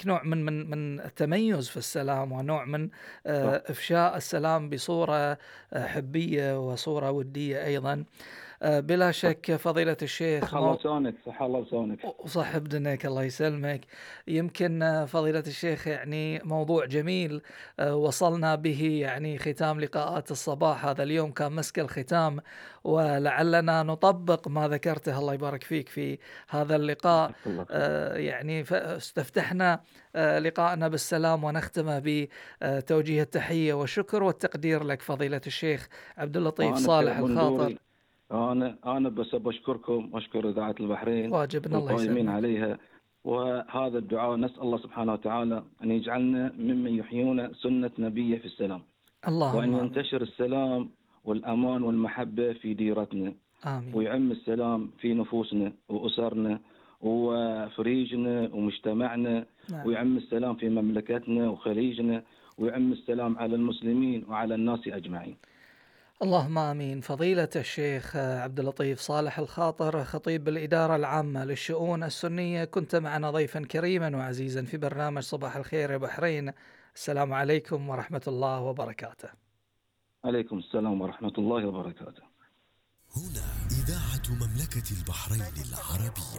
هناك نوع من التميز في السلام، ونوع من صح. إفشاء السلام بصورة حبية وصورة ودية أيضا. بلا صح. شك فضيلة الشيخ صح الله لسانك، صح الله لسانك. وصح بدنك الله يسلمك. يمكن فضيلة الشيخ يعني موضوع جميل وصلنا به، يعني ختام لقاءات الصباح هذا اليوم كان مسك الختام، ولعلنا نطبق ما ذكرته الله يبارك فيك في هذا اللقاء. جزاك الله خير. يعني استفتحنا لقاءنا بالسلام، ونختمه بتوجيه التحية والشكر والتقدير لك فضيلة الشيخ عبد اللطيف أنا صالح كمنظوري، الخاطر. أنا بس بشكركم وأشكر إذاعة البحرين واجبنا الله والقائمين يسلمك. عليها. وهذا الدعاء نسأل الله سبحانه وتعالى أن يجعلنا ممن يحيون سنة نبيه في السلام، وأن اللهم آمين. ينتشر السلام والأمان والمحبة في ديرتنا، آمين. ويعم السلام في نفوسنا وأسرنا وفريجنا ومجتمعنا، نعم. ويعم السلام في مملكتنا وخليجنا، ويعم السلام على المسلمين وعلى الناس أجمعين. اللهم آمين. فضيلة الشيخ عبد اللطيف صالح الخاطر، خطيب الإدارة العامة للشؤون السنية، كنت معنا ضيفا كريما وعزيزا في برنامج صباح الخير يا بحرين. السلام عليكم ورحمة الله وبركاته. عليكم السلام ورحمة الله وبركاته. هنا إذاعة مملكة البحرين العربية.